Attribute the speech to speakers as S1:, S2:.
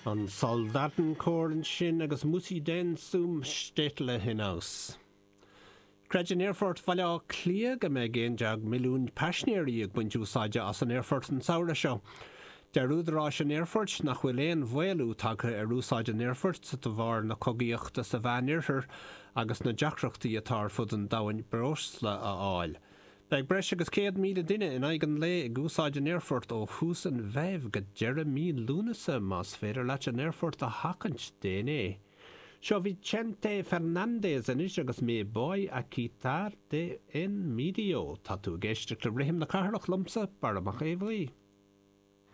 S1: An Soldatenchor ansin agus Muss i denn zum Städtle hinaus. Creideann Aerfort Bhaile Átha Cliath go mbeidh 11 milliún paisinéirí ag baint úsáide as an aerfort an samhradh seo. Deir údaráis an aerfoirt nach bhfuil aon mhaolú tagtha ar úsáid an aerfoirt de bharr na cogaíochta sa Mheánoirthear agus na deacrachtaí atá ar fud an domhain breosla a fháil. Beidh breis agus 100,000 duine in aghaidh an lae ag úsáid an aerfoirt ó thús an Mheithimh go deireadh mí Lúnasa. Más féidir leat an aerfort a sheachaint, déan é. Seo Vicente Fernández anois agus Me Voy a Quitar de En Medio. Tá tú ag éisteacht le Rithim na Cathrach liomsa, Barra Mac Aodha Bhuí.